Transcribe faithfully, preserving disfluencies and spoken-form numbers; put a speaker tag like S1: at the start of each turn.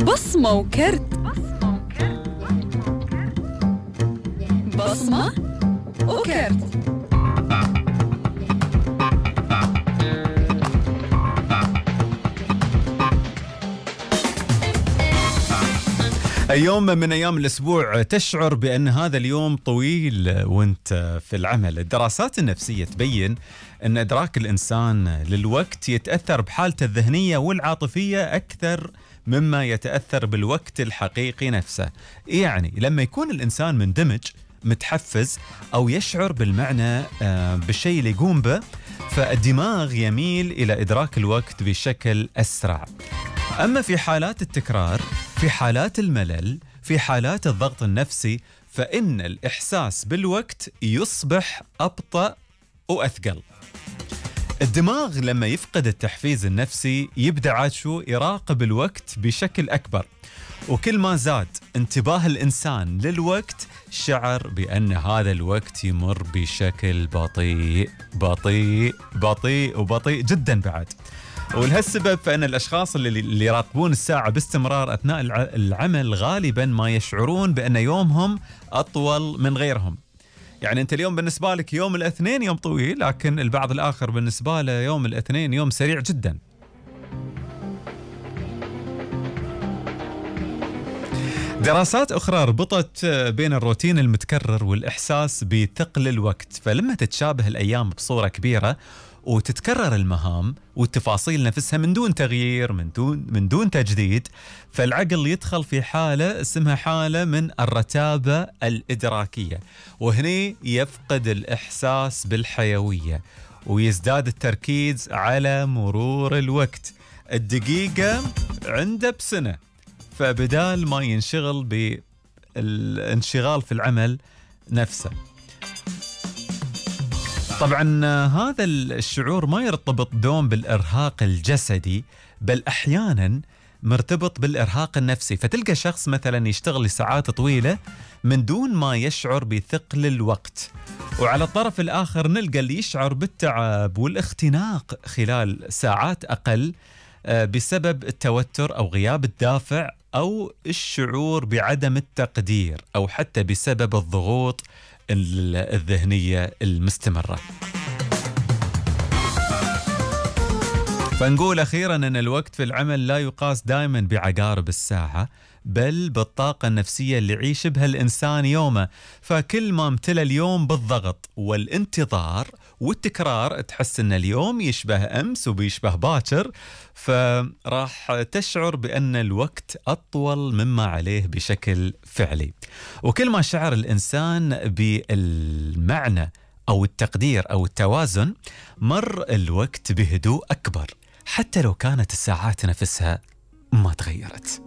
S1: بصمة وكرت. بصمة وكرت.
S2: يوم من أيام الأسبوع تشعر بأن هذا اليوم طويل وانت في العمل. الدراسات النفسية تبين أن إدراك الإنسان للوقت يتأثر بحالته الذهنية والعاطفية أكثر مما يتأثر بالوقت الحقيقي نفسه. يعني لما يكون الإنسان مندمج متحفز أو يشعر بالمعنى بالشيء اللي يقوم به، فالدماغ يميل إلى إدراك الوقت بشكل أسرع. أما في حالات التكرار، في حالات الملل، في حالات الضغط النفسي، فإن الإحساس بالوقت يصبح أبطأ وأثقل. الدماغ لما يفقد التحفيز النفسي يبدأ عاد شو يراقب الوقت بشكل أكبر، وكل ما زاد انتباه الإنسان للوقت شعر بأن هذا الوقت يمر بشكل بطيء بطيء بطيء وبطيء جدا بعد. ولهالسبب فإن الأشخاص اللي, اللي يراقبون الساعة باستمرار أثناء العمل غالبا ما يشعرون بأن يومهم أطول من غيرهم. يعني أنت اليوم بالنسبة لك يوم الاثنين يوم طويل، لكن البعض الآخر بالنسبة له يوم الاثنين يوم سريع جدا. دراسات أخرى ربطت بين الروتين المتكرر والإحساس بثقل الوقت، فلما تتشابه الأيام بصورة كبيرة وتتكرر المهام والتفاصيل نفسها من دون تغيير، من دون من دون تجديد، فالعقل يدخل في حالة اسمها حالة من الرتابة الإدراكية، وهنا يفقد الإحساس بالحيوية ويزداد التركيز على مرور الوقت. الدقيقة عنده بسنة، فبدال ما ينشغل بالانشغال في العمل نفسه. طبعا هذا الشعور ما يرتبط دوم بالإرهاق الجسدي، بل أحيانا مرتبط بالإرهاق النفسي. فتلقى شخص مثلا يشتغل لساعات طويلة من دون ما يشعر بثقل الوقت، وعلى الطرف الآخر نلقى اللي يشعر بالتعب والاختناق خلال ساعات أقل بسبب التوتر أو غياب الدافع أو الشعور بعدم التقدير، أو حتى بسبب الضغوط الذهنية المستمرة. فنقول أخيرا أن الوقت في العمل لا يقاس دائما بعقارب الساعة، بل بالطاقة النفسية اللي يعيش بها الإنسان يومه. فكل ما امتلى اليوم بالضغط والانتظار والتكرار، تحس أن اليوم يشبه أمس وبيشبه باكر، فراح تشعر بأن الوقت أطول مما عليه بشكل فعلي. وكل ما شعر الإنسان بالمعنى أو التقدير أو التوازن، مر الوقت بهدوء أكبر، حتى لو كانت الساعات نفسها ما تغيرت.